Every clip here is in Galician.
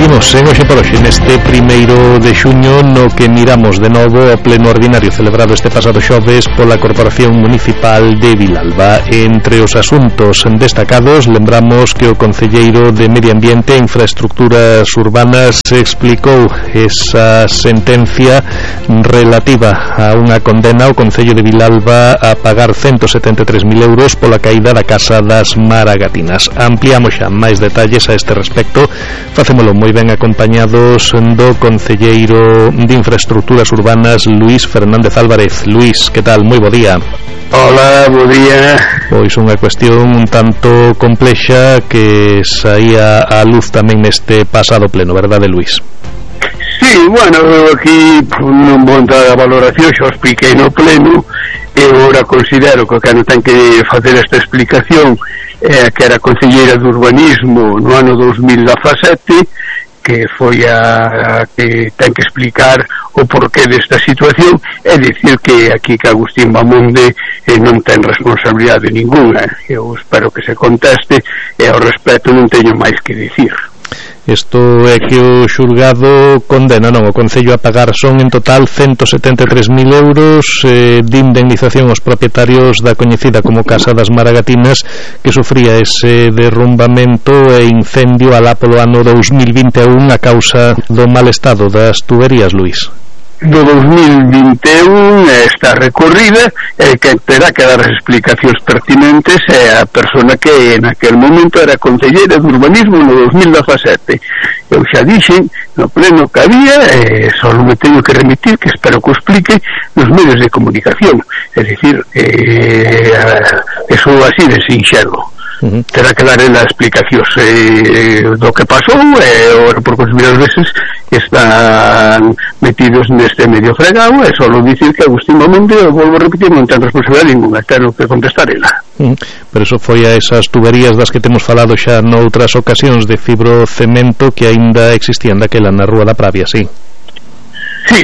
Seguimos en Hoxe por Hoxe neste 1º de xuño, no que miramos de novo o pleno ordinario celebrado este pasado xoves pola Corporación Municipal de Vilalba. Entre os asuntos destacados, lembramos que o concelleiro de Medio Ambiente e Infraestructuras Urbanas explicou esa sentencia relativa a unha condena ao Concello de Vilalba a pagar 173.000 euros pola caída da Casa das Maragatinas. Ampliamos xa máis detalles a este respecto. Facémolo moi ben acompañados do concelleiro de Infraestructuras Urbanas, Luís Fernández Álvarez. Luís, que tal? Moi bo día. Hola, bo día. Pois unha cuestión un tanto complexa que saía á luz tamén neste pasado pleno, verdade, Luís? Sí, bueno, aquí non vou entrar a valoración, xa o expliquei no pleno. Eu agora considero que o que non ten que facer esta explicación que era concelleira de urbanismo no ano 2017, que foi a que ten que explicar o porqué desta situación, é dicir que aquí que Agustín Bamonde non ten responsabilidade ninguna. Eu espero que se conteste e ao respecto non teño máis que dicir. Isto é que o xulgado condena, non, o Concello a pagar son en total 173.000 euros de indemnización aos propietarios da coñecida como Casa das Maragatinas, que sufría ese derrumbamento e incendio alá polo ano 2021 a causa do mal estado das tuberías, Luís. Do 2021 está recorrida e que terá que dar as explicacións pertinentes é a persona que en aquel momento era concelleira de urbanismo no 2017. Eu xa dixen no pleno que había, só non me teño que remitir, que espero que o explique nos medios de comunicación, é dicir, eso así de sinxelo. Terá que dar as explicacións do que pasou e porque os primeiras veces están metidos neste medio fregado e só dicir que Agustín Bamonde, eu volvo a repetir, non ten responsabilidade ninguna, teño que contestar ela. Pero eso foi a esas tuberías das que temos falado xa noutras ocasións de fibrocemento que aínda existían daquela na Rúa da Pravia, sí. Sí,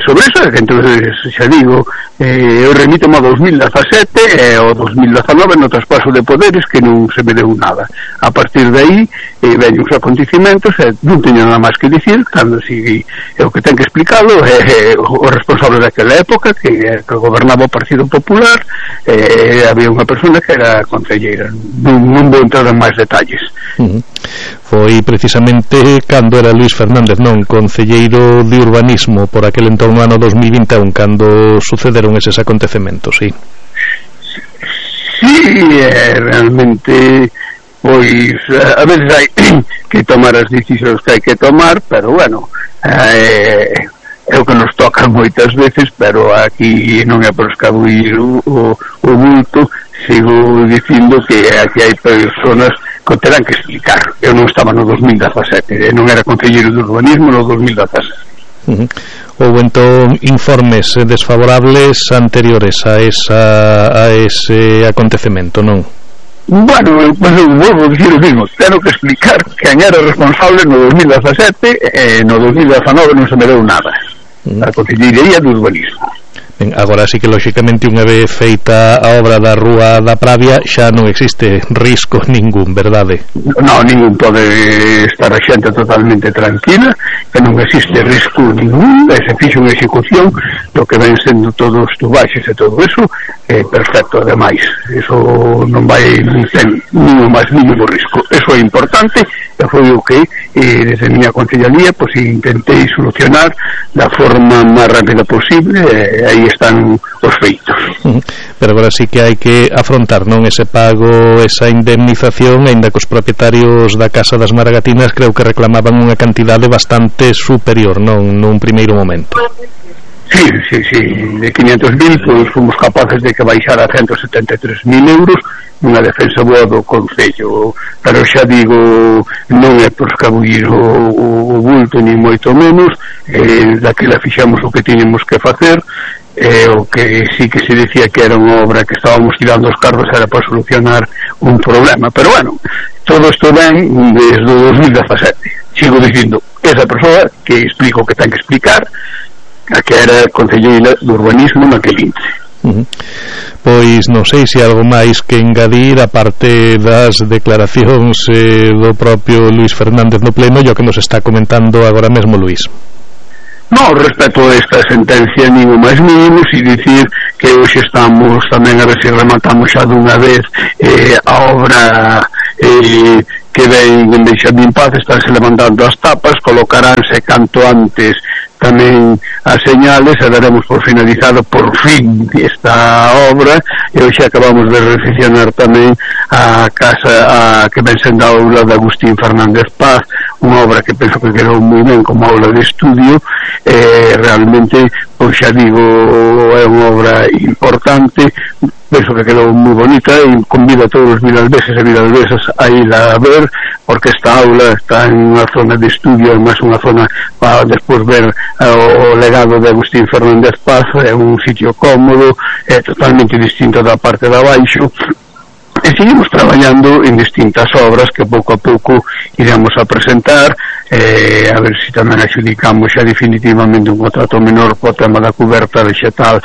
sobre eso, que entonces xa digo, eu remito ao 2017 e ao 2019 no traspaso de poderes que non se me deu nada. A partir de aí veñen os acontecimentos e non teño nada máis que dicir, cando si o que ten que explicalo é o responsable daquela época que gobernaba o Partido Popular, había unha persona que era concelleira. Non vou entrar en máis detalles. Foi precisamente cando era Luís Fernández, non, concelleiro de urbanismo por aquel entorno ano 2021 cando sucederon eses acontecementos, sí. Sí, realmente pois a veces hai que tomar as decisións que hai que tomar, pero bueno, é o que nos toca moitas veces, pero aquí non é por escabuir o bulto. Sigo dicindo que aquí hai personas que terán que explicar. Eu non estaba no 2017, non era concelleiro de urbanismo no 2017. Houve entón informes desfavorables anteriores a ese acontecemento, non? Bueno, pues volvo a dicir o mismo, tenho que explicar quen era responsable no 2017 e no 2019 non se me deu nada. A concellería de urbanismo. Ben, agora sí que lóxicamente unha vez feita a obra da Rúa da Pravia xa non existe risco ningún, verdade? Non, ningún, pode estar a xente totalmente tranquila, que non existe risco ningún, se fixo unha execución do que ven sendo todos os tubaxes e todo eso, perfecto, ademais eso non vai ter ningún máis mínimo risco. Eso é importante e foi o que desde a miña concellería pois intentei solucionar da forma máis rápida posible e aí están os feitos. Pero agora sí que hai que afrontar, non, ese pago, esa indemnización, aínda que os propietarios da Casa das Maragatinas creo que reclamaban unha cantidade bastante superior, non, nun primeiro momento. Sí, de 500.000 pois fomos capaces de que baixara a 173.000 euros unha defensa boa do Concello, pero xa digo, non é por escabullir o bulto ni moito menos, daquela fixamos o que tiñemos que facer, o que sí que se decía que era unha obra que estábamos tirando os carros era para solucionar un problema, pero bueno, todo isto ven desde o 2017. Sigo dicindo, esa persoa que explico o que ten que explicar, a que era concelleira de urbanismo naquel intre. Pois non sei se algo máis que engadir a parte das declaracións do propio Luís Fernández no pleno e o que nos está comentando agora mesmo Luís. No, respecto a esta sentencia nin o máis mínimo, si dicir que hoxe estamos tamén a ver se rematamos xa dunha vez a obra que ven en Benxamín Paz, estánse levantando as tapas, colocaránse canto antes tamén as señales e daremos por finalizado por fin esta obra e hoxe acabamos de recepcionar tamén a casa que ven sendo a aula de Agustín Fernández Paz, unha obra que penso que quedou moi ben como aula de estudio, realmente, pois xa digo, é unha obra importante, penso que quedou moi bonita e convido a todos os vilalbeses e vilalbesas a ir a ver, porque esta aula está en unha zona de estudio, é máis unha zona para despois ver o legado de Agustín Fernández Paz, é un sitio cómodo, é totalmente distinto da parte de abaixo, e seguimos traballando en distintas obras que pouco a pouco iremos a presentar, a ver se tamén adjudicamos xa definitivamente un contrato menor co tema da cuberta vegetal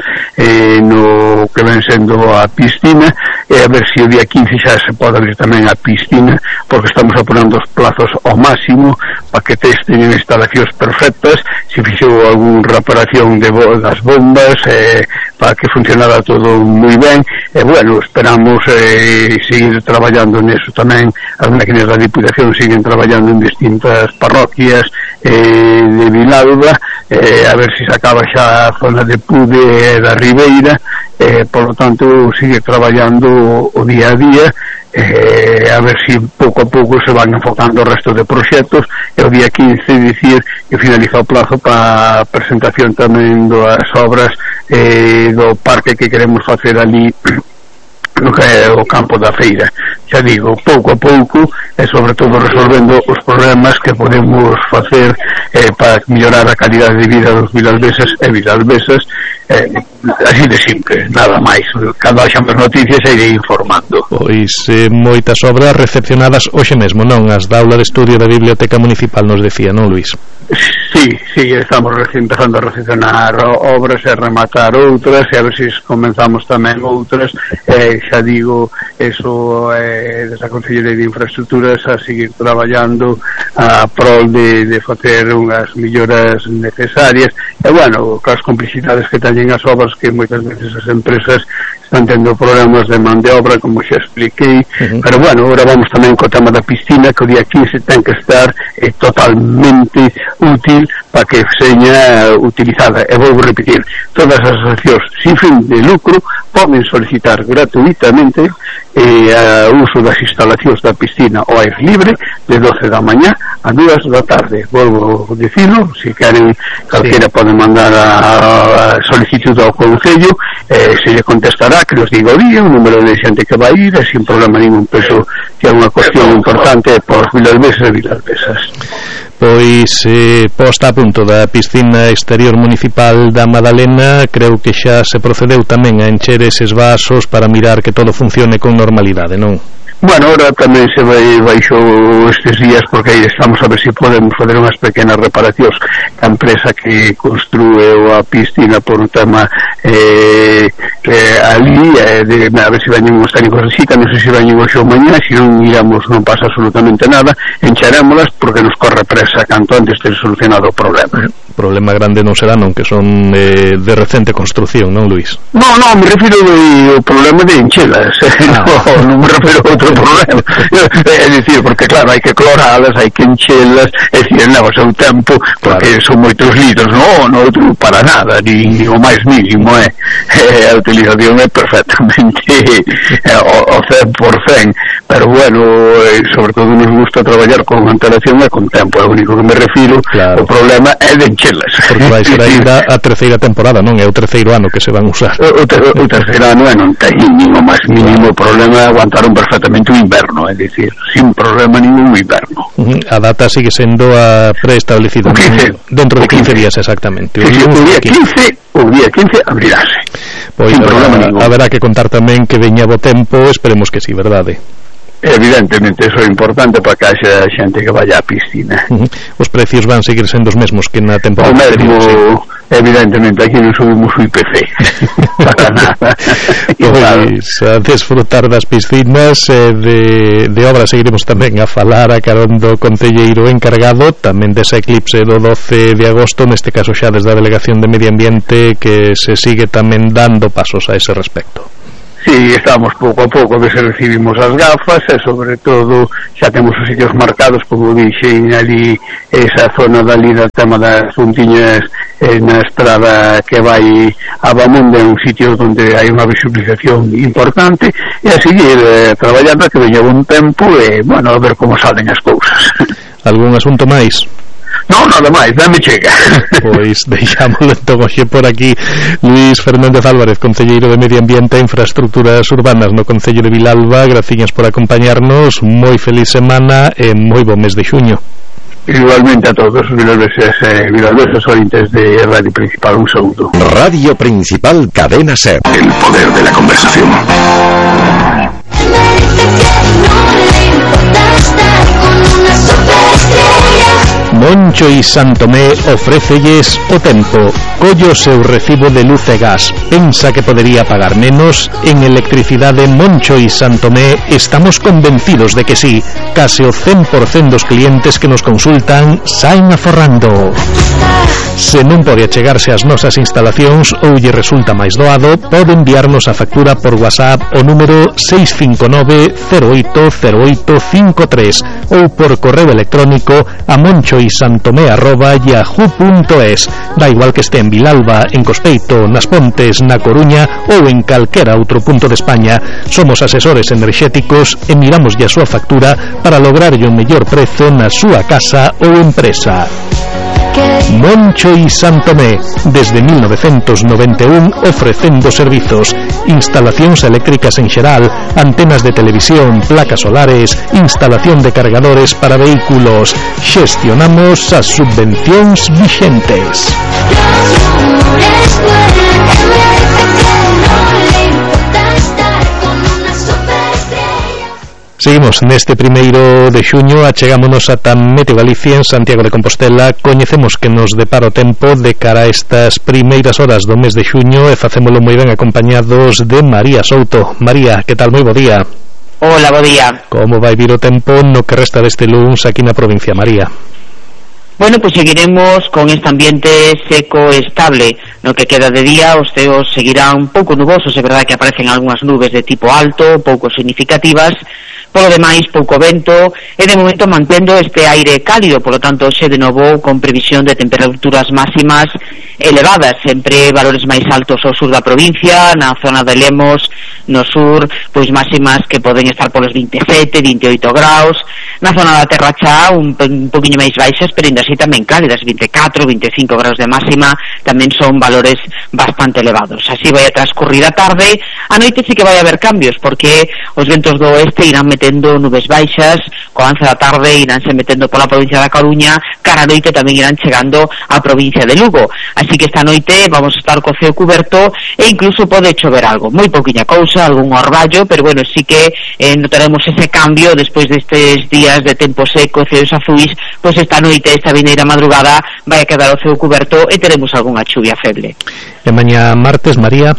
no que ven sendo a piscina, e a ver se o día 15 xa se pode abrir tamén a piscina, porque estamos apurando os plazos ao máximo para que testen instalacións perfectas, se fixou algún reparación das bombas para que funcionara todo moi ben, e bueno, esperamos seguir traballando neso tamén. As máquinas da Diputación siguen traballando en distintas parroquias de Vilalba, a ver se acaba xa a zona de Pude e da Ribeira, por lo tanto sigue traballando o día a día, a ver se pouco a pouco se van enfocando o resto de proxectos, e o día 15 dicir que finaliza o plazo para a presentación tamén das obras do parque que queremos facer ali no que é o campo da feira. Xa digo, pouco a pouco e sobre todo resolvendo os problemas que podemos facer para mellorar a calidade de vida dos vilalbeses e vilalbesas, así de simple, nada máis. Cando haxa máis noticias irei informando. Pois moitas obras recepcionadas hoxe mesmo, non? As da aula de estudio da Biblioteca Municipal nos decía, non, Luís? Sí, estamos empezando a recepcionar obras e rematar outras, e a ver se comenzamos tamén outras, xa digo, eso desde a Consellería de Infraestructuras a seguir traballando a prol de facer unhas melloras necesarias, e bueno, cas complexidades que teñen as obras, que moitas veces as empresas están tendo problemas de man de obra, como xa expliquei, pero bueno, agora vamos tamén co tema da piscina, que o día 15 ten que estar totalmente útil para que seña utilizada. E vou repetir, todas as asociacións sin fin de lucro poden solicitar gratuitamente o uso das instalacións da piscina ao aire libre de 12 da mañá a 2 da tarde. Volvo a dicilo, se queren calquera pode mandar a solicitud ao Concello, se lle contestará, que nos diga o día, o número de xente que vai ir, sin problema ningún. Penso que é unha cuestión importante por vilalbeses e vilalbesas. Pois posta a punto da piscina exterior municipal da Madalena, creo que xa se procedeu tamén a encher eses vasos para mirar que todo funcione con normalidade, non? Bueno, ahora tamén se baixou estes días, porque aí estamos a ver se podemos fazer unhas pequenas reparacións. A empresa que construe a piscina por un tema ali, a ver se veñen uns técnicos de cita, non sei se veñen hoxe ou mañá, se non iramos, non pasa absolutamente nada, encharémolas porque nos corre presa canto antes ter solucionado o problema. O problema grande non será, non, que son de recente construcción, non, Luís? No, me refiro ao problema de enchelas, non me refiro a outro problema, é dicir, porque claro, hai que cloralas, hai que enchelas, é dicir, leva o seu tempo, porque son moitos litros, non outro para nada, ni o máis mínimo, a utilización é perfectamente o 100%, pero bueno, sobre todo nos gusta traballar con antelación e con tempo, é o único que me refiro, o problema é de enchelas. Porque vai ser ainda a terceira temporada, non? É o terceiro ano que se van usar. O terceiro ano non ten nin o máis mínimo problema, aguantaron perfectamente o inverno, é dicir, sin problema ningún o inverno. A data sigue sendo a preestablecida dentro de 15 días exactamente. O día 15 abrirase. Pois haberá que contar tamén que veña bo tempo, esperemos que sí, verdade? Evidentemente, eso é importante para que haxa xente que vaya á piscina. Os precios van seguir sendo os mesmos que na temporada anterior. evidentemente aquí non subimos o IPC para nada. Pois a desfrutar das piscinas, de obra seguiremos tamén a falar a carón do concelleiro encargado tamén desa eclipse do 12 de agosto, neste caso xa desde a Delegación de Medio Ambiente, que se sigue tamén dando pasos a ese respecto. Sí, estamos pouco a pouco que se recibimos as gafas e sobre todo xa temos os sitios marcados, como dixen ali, esa zona dali da tema das puntiñas na estrada que vai a Bamonde, un sitio onde hai unha visualización importante, e a seguir traballando que veña un tempo e, bueno, a ver como salen as cousas. Algún asunto máis? Non, nada máis, dame chega. Pois deixámoslo entón hoxe por aquí. Luís Fernández Álvarez, concelleiro de Medio Ambiente e Infraestructuras Urbanas no Concello de Vilalba, graciñas por acompañarnos, moi feliz semana e moi bo mes de xuño. Igualmente a todos os vilalbeses e vilalbesas ointes de Radio Principal, un saúdo. Radio Principal, Cadena SER. El poder de la conversación. Moncho y Santomé ofrécelles o tempo. Collo seu recibo de luz e gas. Pensa que podería pagar menos? En Electricidade Moncho y Santomé estamos convencidos de que sí. Case o 100% dos clientes que nos consultan saen aforrando. Se non pode achegarse ás nosas instalacións ou lle resulta máis doado, pode enviarnos a factura por WhatsApp o número 659-080853 ou por correo electrónico a monchoisantomé@yahoo.es. Da igual que este en Vilalba, en Cospeito, nas Pontes, na Coruña ou en calquera outro punto de España. Somos asesores enerxéticos e miramos a súa factura para lograrlle o mellor prezo na súa casa ou empresa. Moncho y Santomé, desde 1991 ofrecendo servizos, instalacións eléctricas en xeral, antenas de televisión, placas solares, instalación de cargadores para vehículos. Xestionamos as subvencións vixentes. Seguimos neste primeiro de xuño, achegámonos ata Meteo Galicia en Santiago de Compostela. Coñecemos que nos depara o tempo de cara a estas primeiras horas do mes de xuño e facémolo moi ben acompañados de María Souto. María, que tal? Moi bo día. Hola, bo día. Como vai vir o tempo no que resta deste luns aquí na provincia, María? Bueno, pues seguiremos con este ambiente seco e estable. No que queda de día, os ceos seguirán un pouco nubosos, é verdade que aparecen algunhas nubes de tipo alto, pouco significativas. Polo demais, pouco vento e de momento mantendo este aire cálido, polo tanto hoxe de novo con previsión de temperaturas máximas elevadas, sempre valores máis altos ao sur da provincia, na zona de Lemos, no sur, pois máximas que poden estar polos 27, 28 graus, na zona da Terra Chá un poquinho máis baixas, pero ainda así tamén cálidas, 24, 25 graus de máxima, tamén son valores bastante elevados. Así vai a transcurrir a tarde, a noite sí que vai haber cambios, porque os ventos do oeste irán metendo nubes baixas, co avance da tarde iránse metendo pola provincia da Coruña, cara a noite tamén irán chegando á provincia de Lugo. Así que esta noite vamos a estar co ceo cuberto e incluso pode chover algo, moi pouquiña cousa, algún orballo, pero bueno, sí que notaremos ese cambio despois destes días de tempo seco, ceos azuis, pois esta noite, esta vineira madrugada, vai a quedar o ceo cuberto e teremos algunha chuvia feble. E mañá martes, María?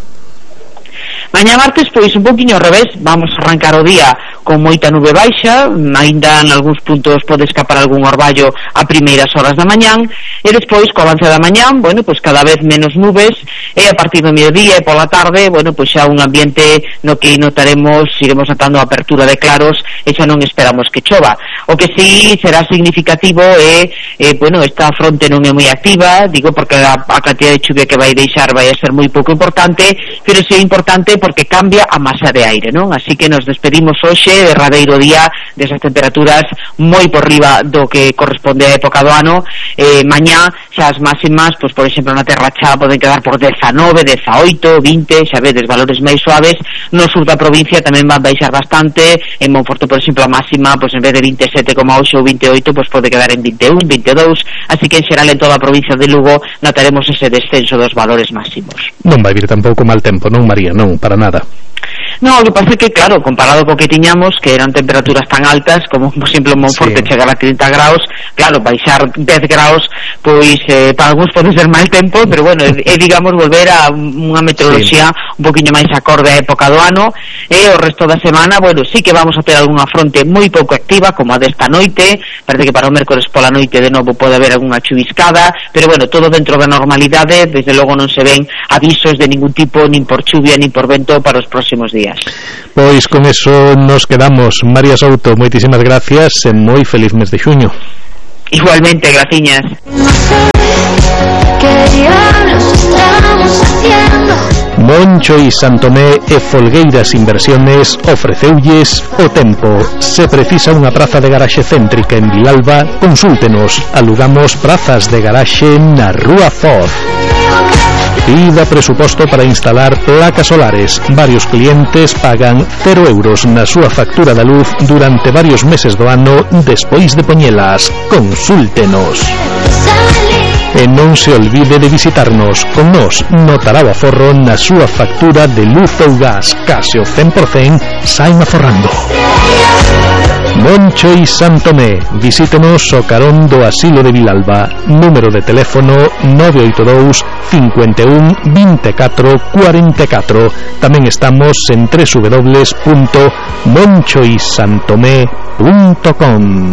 Mañá martes, pois un poquinho ao revés, vamos a arrancar o día con moita nube baixa, aínda en algúns puntos pode escapar algún orballo a primeiras horas da mañán, e despois, co avance da mañán, bueno, pois cada vez menos nubes, e a partir do mediodía e pola tarde, bueno, pois xa un ambiente no que notaremos, iremos notando a apertura de claros, e xa non esperamos que chova. O que sí será significativo é, bueno, esta fronte non é moi activa, digo porque a cantidad de chuvia que vai deixar vai a ser moi pouco importante, pero sí é importante porque cambia a masa de aire, non? Así que nos despedimos hoxe de radeiro día desas temperaturas moi por riba do que corresponde á época do ano. Mañá xa as máximas, pois por exemplo na Terra Chá poden quedar por 19, 18, 20, xa vedes, valores máis suaves. No sur da provincia tamén van baixar bastante. En Monforte, por exemplo, a máxima, pois en vez de 27,8 ou 28, pois pode quedar en 21, 22. Así que en xeral en toda a provincia de Lugo notaremos ese descenso dos valores máximos. Non vai vir tampouco mal tempo, non, María? Non, para nada. No, o que pasa é que, claro, comparado co que tiñamos, que eran temperaturas tan altas, como, por exemplo, en Monforte chegar a 30 graus, claro, baixar 10 graus, pois, para algúns pode ser mal tempo, pero bueno, é digamos, volver a unha meteoroloxía un poquinho máis acorde á época do ano, e o resto da semana, bueno, sí que vamos a ter algunha fronte moi pouco activa, como a desta noite, parece que para o mércores pola noite de novo pode haber algunha chuviscada, pero bueno, todo dentro da normalidade, desde logo non se ven avisos de ningún tipo, nin por chuvia, nin por vento para os próximos días. Pois con eso nos quedamos. María Souto, moitísimas gracias e moi feliz mes de xuño. Igualmente, graciñas. Moncho y Santomé e Folgueiras Inversiones ofreceulles o tempo. Se precisa unha praza de garaxe céntrica en Vilalba, consúltenos. Alugamos prazas de garaxe na Rúa Foz. Pida presuposto para instalar placas solares. Varios clientes pagan 0 euros na súa factura da luz durante varios meses do ano despois de poñelas. Consúltenos. E non se olvide de visitarnos. Con nos notará o aforro na súa factura de luz ou gas. Case o 100% saen aforrando. Moncho y Santomé. Visítenos o carón do Asilo de Vilalba. Número de teléfono 982 51 24 44. Tamén estamos en www.monchoysantomé.com.